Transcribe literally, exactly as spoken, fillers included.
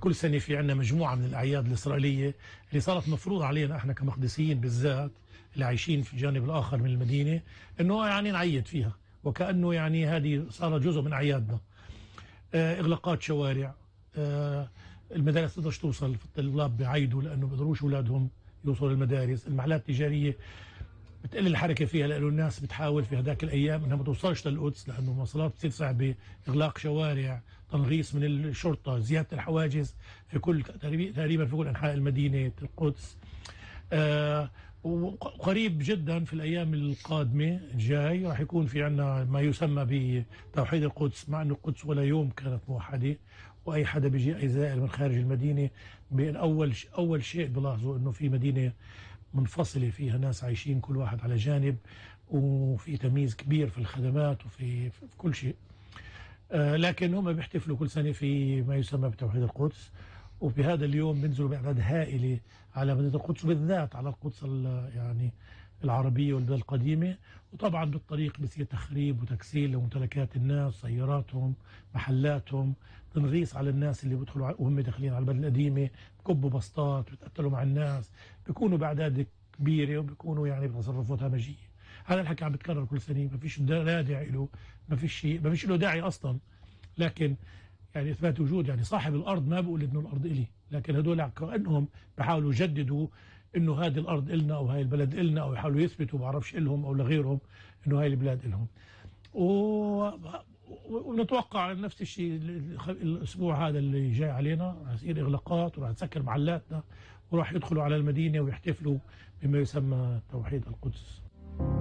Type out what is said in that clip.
كل سنة في عنا مجموعة من الأعياد الإسرائيلية اللي صارت مفروض علينا احنا كمقدسيين بالذات اللي عايشين في الجانب الآخر من المدينة انه يعني نعيد فيها، وكأنه يعني هذه صارت جزء من أعيادنا. آه إغلاقات شوارع، آه المدارس تقدرش توصل، في الطلاب بيعيدوا لأنه ما بيقدروش أولادهم يوصلوا للمدارس. المحلات التجارية بتقل الحركة فيها لأنه الناس بتحاول في هذاك الأيام إنها ما توصلش للقدس لأنه المواصلات بتصير صعبة، إغلاق شوارع، تنغيص من الشرطة، زيادة الحواجز في كل تقريبا في كل أنحاء المدينة القدس. آه وقريب جدا في الأيام القادمة الجاي راح يكون في عنا ما يسمى بتوحيد القدس، مع أنه القدس ولا يوم كانت موحدة، وأي حدا بيجي أي زائر من خارج المدينة بين أول أول شيء بلاحظوا أنه في مدينة منفصلة فيها ناس عايشين كل واحد على جانب، وفي تمييز كبير في الخدمات وفي في كل شيء. آه لكن هم بيحتفلوا كل سنة في ما يسمى بتوحيد القدس، وبهذا اليوم بينزلوا بأعداد هائلة على مدينة القدس، وبالذات على القدس يعني العربية والبلاد القديمة. وطبعا بالطريق بصير تخريب وتكسير لممتلكات الناس، سياراتهم، محلاتهم، تنغيص على الناس اللي بيدخلوا وهم داخلين على البلد القديمة، بكبوا بسطات، بيتقتلوا مع الناس، بيكونوا بأعداد كبيرة وبيكونوا يعني بتصرفات همجية. هذا الحكي عم بيتكرر كل سنة، ما فيش لا داعي له، ما فيش شيء، ما فيش له داعي أصلا. لكن يعني إثبات وجود، يعني صاحب الأرض ما بقول إنه الأرض إلي، لكن هدول كأنهم بيحاولوا يجددوا إنه هذه الأرض إلنا أو هاي البلد إلنا، أو يحاولوا يثبتوا بعرفش إلهم أو لغيرهم إنه هاي البلاد إلهم. و... ونتوقع نفس الشيء الأسبوع هذا اللي جاي علينا راح يصير إغلاقات، وراح تسكر محلاتنا، وراح يدخلوا على المدينة ويحتفلوا بما يسمى توحيد القدس.